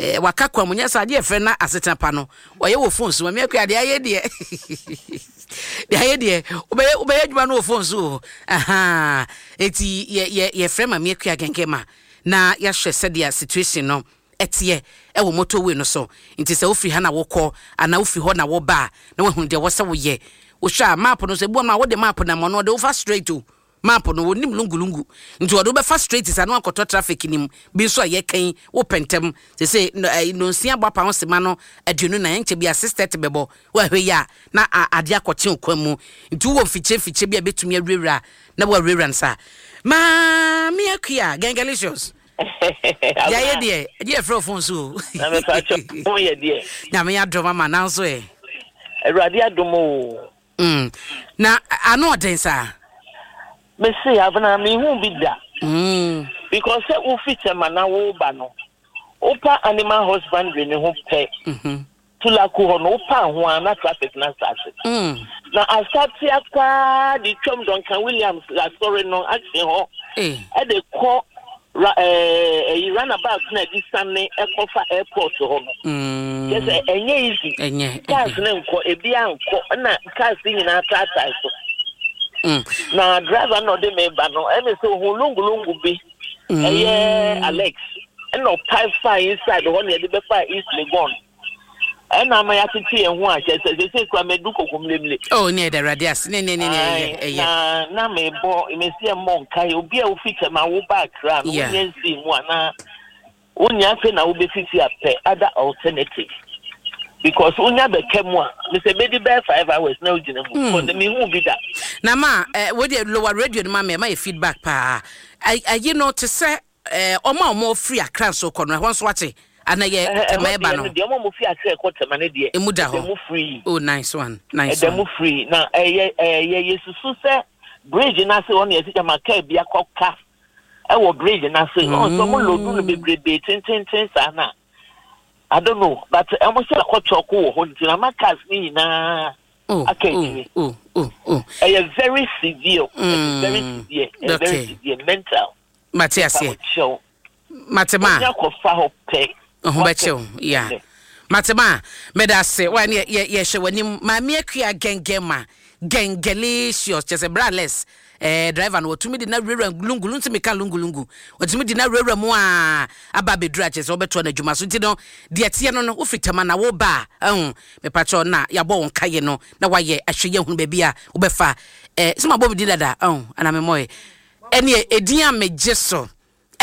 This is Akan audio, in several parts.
Eh, waka kwa mu nyɛ sɛ adeɛ ɛfrɛ na asetena pa no ɔyɛ wɔ phone so. Mame Akua, deɛ ayɛ deɛ, deɛ ayɛ deɛ, wobɛyɛ wobɛyɛ adwuma no wɔ phone so o. Ahaa, eti yɛ yɛ yɛfrɛ Mame Akua Gɛngɛma na yɛahwɛ sɛdeɛ situation no ɛteɛ ɛwɔ motorway no so. Nti sɛ wofiri ha na wokɔ anaa wofiri hɔ na woba a, na wahunu deɛ ɛwɔ sɛ woyɛ. Wohwɛ a map no so, ebi wɔ no a wode map nam ɔno ɔde wofa straight o. Map no wɔnim lungu lungu nti wɔde wo bɛfa straight saa na wakɔtɔ traffic no mu. Bi nso a yɛka yi wopɛ ntɛm sese nonsia bɔ apa ho sema no 24, ɛnkyɛ bia 6:30 bɛbɔ, woahwɛ yi a na adeɛ akɔkye wo kwan mu. Nti wowɔ mfikyire mfikyire bi a ɛbɛtumi awurawura na woawurawura no saa. Maame Akua, Gengalicious. Deɛ ayɛ deɛ, ɛgye yɛfrɛ wo phone so o. Na mepa kyɛ ho yɛ deɛ. Nyame adom ama nanso ɛ. Awurade adom o. Mm. Na ano ɔden saa? Me se abena me hu bi da. Mm. Because sɛ wofi Tema na woba no, wopa animal husbandry ne ho pɛ. Mm -hmm. Tulaku hɔ no wopa ho a na traffic na asase. Mm. Na asate akwaa de twam Duncan Williams asɔre no akye hɔ. Eh. Ɛde kɔ Ra ɛɛ ɛyi runabout na ɛde sane ɛkɔfa airport hɔ no. Mm. Kyɛ sɛ ɛnyɛ easy. Ɛnyɛ. Cars ne nkɔ ebi ankɔ ɛna cars nyinaa taatae so. Mm. Na driver na ɔde me ba no ɛna sɛ ohun lungulungu bi. Mm. Ɛyɛ Alex ɛna ɔpae fa inside hɔ na yɛde bɛfa East Legon. Ɛna ama yɛatete yɛn ho a kyerɛ sɛ sese kura mɛdu koko mlemle. Oh, ne ɛda awurade ase ne ne ne ne ɛyɛ ɛyɛ. Na na mebɔ mesi ɛmmɔ nkae obi a wofi kyɛm a woba Accra no wonya nsii mu anaa wonya afei na wobɛfifi apɛ other alternative because wonya bɛka mu a mesɛ bɛdi bɛyɛ 5 hours na wogyina mu because mehu bi da. Na ma wo deɛ lower radio no ma me, ɛma yɛ feedback paa. Ayi no te sɛ ɔmo a ɔmo firi Accra nso kɔ no, ɛhɔ nso ate ana yɛ Tema ɛba no? Deɛ ɔmo fi Accra ɛkɔ Tema no deɛ, emu da hɔ ɛda mu free. Oh, nice one, nice one. Ɛda mu free na ɛyɛ ɛyɛ yɛsusu sɛ bridge n'ase hɔ na yɛsi gyama kaa bi akɔ ka ɛwɔ bridge n'ase ɔn sɛ ɔmo load no bebrebe tententen saa na I don't know, but ɛmo sɛ akɔ kyɔko wɔ hɔ nti na ama cars ne nyinaa aka akyire. Ɛyɛ very severe, ɛyɛ very severe, ɛyɛ very severe mental. Mate aseɛ. Mate ma. Wonya kɔfa hɔ pɛ. Ho bɛkyɛw ya. Mate ma. Meda ase. Wa ne yɛ yɛhwɛ w'anim. Maame Akua gɛngɛn ma. Gɛngɛlicious. Kyɛ sɛ bra less. Eh, driver no wɔtumi de na wurawura lungulu nti meka lungulungu. Wɔtumi de na wurawura mu a aba abɛduru a kyɛ sɛ wɔbɛtoa no adwuma so. Nti no deɛ teɛ no no wofiri Tama na woba a ɛho mepakyɛw na yɛabɔ wo nkaeɛ no na wayɛ ahwɛ yɛ hunu baabi a wobɛfa. Eh, sɛ mabɔ me din dada ɛho anaa memmɔe. Ɛneɛ edin a megye so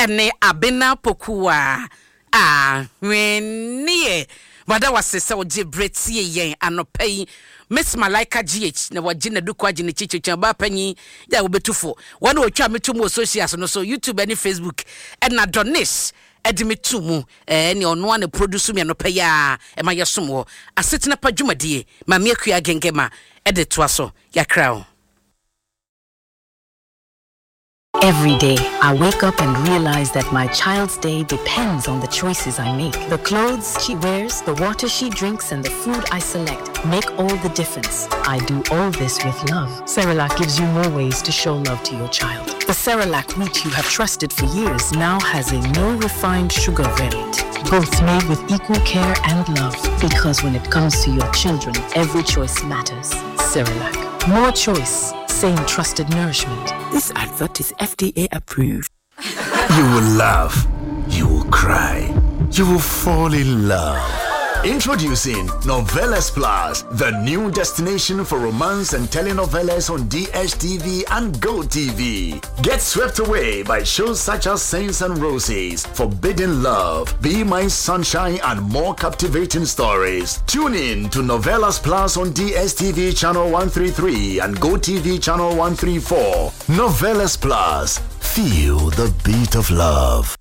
ne Abena Pokuaa Ahweneɛ. Mada wo ase sɛ wogye berɛ tie yɛn anɔpa yi. Miss Malaika GH na wagye n'aduku agye ne kyikyikyi ɔbaa panyin yɛ a wobɛtu fo. Wɔn na wɔtwa me to mu wɔ socials no so, YouTube ne Facebook. Ɛna Donish de me to mu. Ɛne ɔno ara na produce me anɔpa yi a ɛma yɛsom wɔ Asetena Pa dwumadie. Maame Akua Gengema de toa so. Yɛakra wo. Every day, I wake up and realize that my child's day depends on the choices I make. The clothes she wears, the water she drinks, and the food I select make all the difference. I do all this with love. Cerelac gives you more ways to show love to your child. The Cerelac wheat you have trusted for years now has a no refined sugar variant. Both made with equal care and love. Because when it comes to your children, every choice matters. Cerelac. More choice, same trusted nourishment. This advert is FDA approved. You will laugh. You will cry. You will fall in love. Introducing Novelas Plus, the new destination for romance and telenovelas on DSTV and GoTV. Get swept away by shows such as Saints and Roses, Forbidden Love, Be My Sunshine, and more captivating stories. Tune in to Novelas Plus on DSTV channel 133 and GoTV channel 134. Novelas Plus. Feel the beat of love.